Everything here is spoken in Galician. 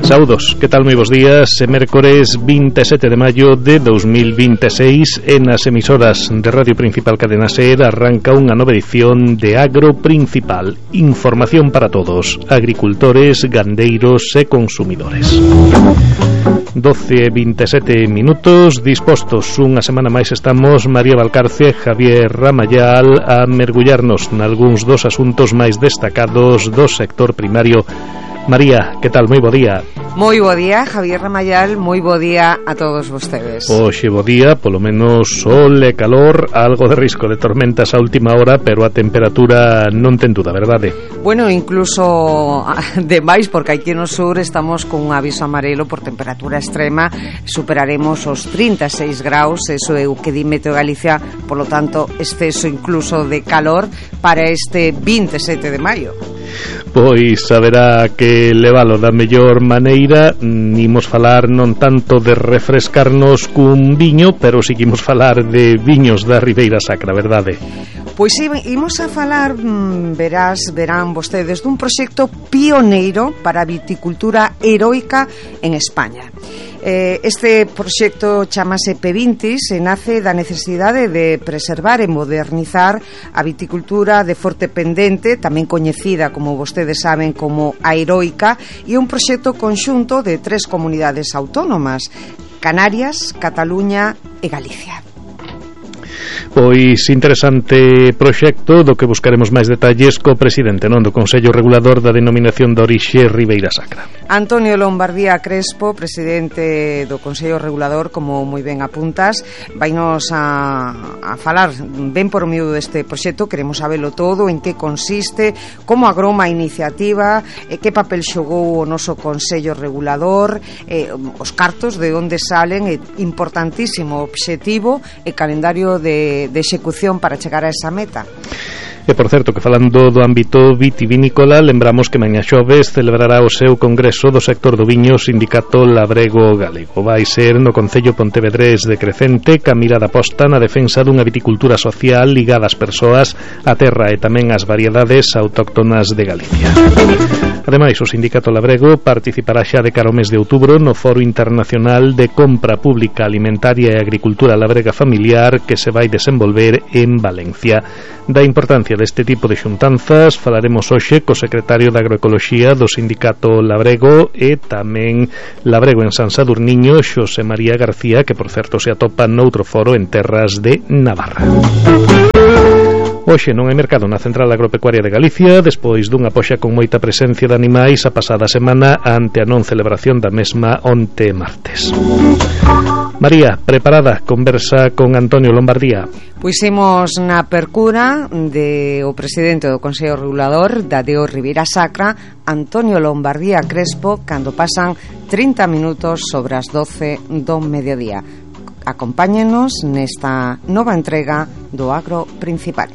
Saudos, que tal? Moi bons días. Mércores 27 de maio de 2026 en as emisoras de Radio Principal Cadena SER arranca unha nova edición de Agro Principal. Información para todos, agricultores, gandeiros e consumidores. 12:27 minutos, dispostos unha semana máis estamos María Valcarce, Javier Ramayal a mergullarnos nalgúns dos asuntos máis destacados do sector primario. María, que tal? Moi bo día. Moi bo día, Javier Ramayal, moi bo día a todos vostedes. Hoxe bo día, polo menos sol e calor, algo de risco de tormentas a última hora, pero a temperatura non ten duda, verdade? Bueno, incluso demais, porque aquí no sur estamos con un aviso amarelo por temperatura extrema, superaremos os 36 graus, eso é o que di Meteo Galicia, polo tanto, exceso incluso de calor para este 27 de maio. Pois haberá que levalo da mellor maneira. Imos falar non tanto de refrescarnos cun viño, pero seguimos falar de viños da Ribeira Sacra, verdade? Pois sí, imos a falar, verán vostedes, dun proxecto pioneiro para a viticultura heroica en España. Este proxecto chamase P20 e nace da necesidade de preservar e modernizar a viticultura de Forte Pendente, tamén coñecida, como vostedes saben, como a heroica, e un proxecto conxunto de 3 comunidades autónomas: Canarias, Cataluña e Galicia. Pois interesante proxecto do que buscaremos máis detalles co presidente do Consello Regulador da Denominación de Orixe Ribeira Sacra. Antonio Lombardía Crespo, presidente do Consello Regulador, como moi ben apuntas, vainos a falar ben por medio deste proxecto. Queremos sabelo todo, en que consiste, como agroma a iniciativa, que papel xogou o noso Consello Regulador, os cartos de onde salen, importantísimo obxectivo e calendario de execución para chegar a esa meta. E, por certo, que falando do ámbito vitivinícola, lembramos que mañá xoves celebrará o seu congreso do sector do viño Sindicato Labrego Galego. Vai ser no Concello Pontevedrés de Crecente, ca mirada posta na defensa dunha viticultura social ligada ás persoas, á terra e tamén ás variedades autóctonas de Galicia. Ademais, o Sindicato Labrego participará xa de cara ao mes de outubro no Foro Internacional de Compra Pública Alimentaria e Agricultura Labrega Familiar que se vai desenvolver en Valencia. Da importancia deste tipo de xuntanzas falaremos hoxe co secretario de Agroecoloxía do Sindicato Labrego e tamén Labrego en San Sadurniño, Xosé María García, que por certo se atopa noutro foro en terras de Navarra. Hoxe non hai mercado na Central Agropecuaria de Galicia despois dunha poxa con moita presencia de animais a pasada semana ante a non celebración da mesma onte martes. María, preparada, conversa con Antonio Lombardía. Pois imos na percura de o presidente do Consello Regulador da DO Ribeira Sacra, Antonio Lombardía Crespo, cando pasan 30 minutos sobre as 12 do mediodía. Acompáñenos nesta nova entrega do Agro Principal.